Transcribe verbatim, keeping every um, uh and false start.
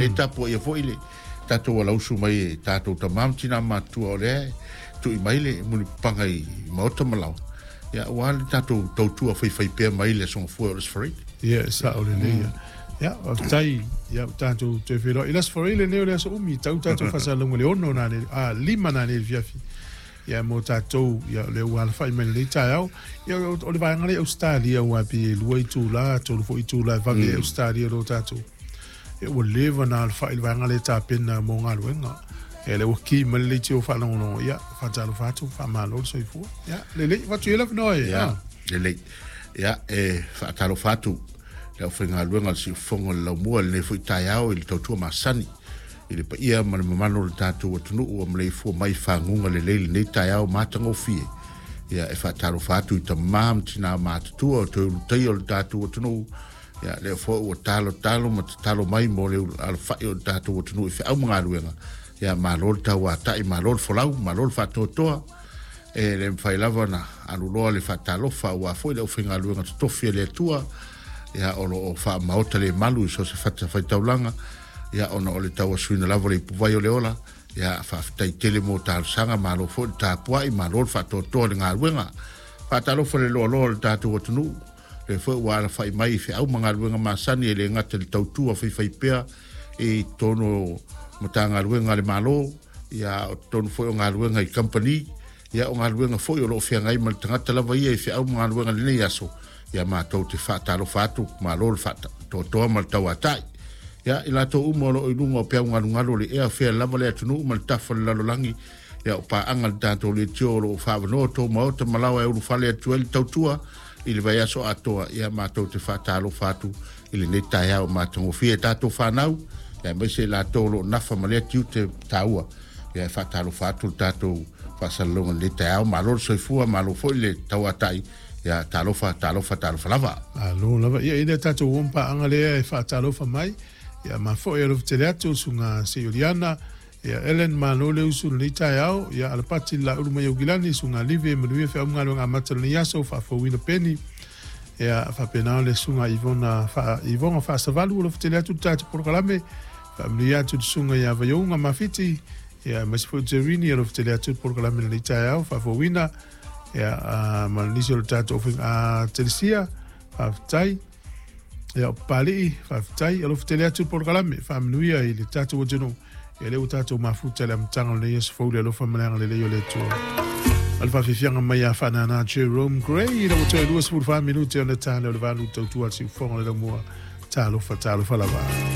le tapuaia foi le tatou alausu mai e tatou tama ma tina matutua o lea tui mai le mulipapaga i maota ma laoa, ia aua le tatou tautua faifaipea mai le Aso Gafua o le Aso Faraile. Ia, e sao lelei. Ia, faafetai, ia, ua tatou toe feiloai i le Aso Faraile lenei o le aso umi, tau tatou faasalalauga i le ono nanei, a, lima nanei i le fiafi. Ia, mo tatou, ia, o lea ua alafai mai lenei taeao. Ia, o le vaega lea i Ausetalia, aua pei e lua itula, tolu foi itula e vave ai Ausetalia i lo tatou. Ia, ua leva ona alafai i le vaega lea e tapena mo galuega. Ia, lea ua ki mai le leitio faalogologo, ia, faatalofa atu, faamalo le soifua. Ia, lelei, avatu i ai le avanoa e. Ia, lelei. Ia, e faatalofa atu le aufaigaluega a le Siufofoga o le Laumua i lenei foi taeao i le tautua masani i le paia ma le mamalu o le tatou atunuu ua maleifua mai i faguga lelei lenei taeao matagofie. Ia, e faatalofa atu i tama ma tina matutua o toe ulutaia o le tatou atunuu. Ia, lea foi ua talotalo ma tatalo mai mo le alafai o le tatou atunuu i feau ma galuega. Ia, malo le tauatai, malo le folau, malo le faatoatoa. E le mafai lava ona aluloa le faatalofa aua foi le aufaigaluega totofi a le Atua, ia, o lo o faamaota le malu i so o se fatafaitaulaga, ia, ona o le tauasuina lava o le ipuvai o le ola. Ia, faafetai tele mo talosaga, malo foi le tapuai, malo le faatoatoa i le galuega. Faatalofa le loaloa o le tatou atunuu, lea foi ua alafai mai i feau ma galuega masani e le gata i le tautua faifaipea i totonu o Matagaluega a le Malo, ia, o totonu foi o galuega i kamupani, ia, o galuega foi o lo o feagai ma le tagata lava ia i feau ma galuega i lenei aso. Ia, matou te faatalofa atu, malo le faatoatoa ma le tauatai. Ia, i latou uma o lo o i luga o peau galugalu o le ea, fea lava le atunuu ma le tafa o le lalolagi, ia, o paaga le tatou leitio o lo o faaavanoa tou maota ma laoa e ulufale atu ai le tautua i le vaiaso atoa. Ia, matou te faatalofa atu i lenei taeao matagofie tatou fanau, aemaise i latou o lo o nafa ma lea tiute taua. Ia, e faatalofa atu le tatou faasalalauga i lenei taeao. Malo le soifua, malo foi le tauatai. Ia, talofa, talofa, talofa lava. Malo lava. Ia, i le tatou uo ma paaga lea e faatalofa mai. Ia, ma foi alofa tele atu le susuga Seioliana. Ia, Ellen, malo le usu i lenei taeao. Ia, Alapati le Laulu mai Aukilani, susuga Livi, manuia feau ma galuega amata o lenei aso, faafouina peni. Ia, faapena le susuga Ivona fa, Ivona Faasavalu, alofa tele atu le tatou polokalame. Faamanuia atu le susuga ia Vaiouga Mafiti. Ia, aemaise foi o Jerini, alofa tele atu le polokalame i lenei taeao, faafouina. Ia, uh, ma nisi o le tatou uh, Telesia, faafetai. Ia, o Papalii, faafetai, alofa tele atu le polokalame, faamanuia i le tatou atunuu. Ia, lea ua tatou mafuta i le amataga o lenei aso fou le alofa ma le agalelei o le Atua. A le faafiafiaga mai ia Faanana Jerome Gray, ina ua toe luasefulu fa minute ona ta lea o le valu tautua a le Siufofoga o le Laumua. Talofa, talofa lava.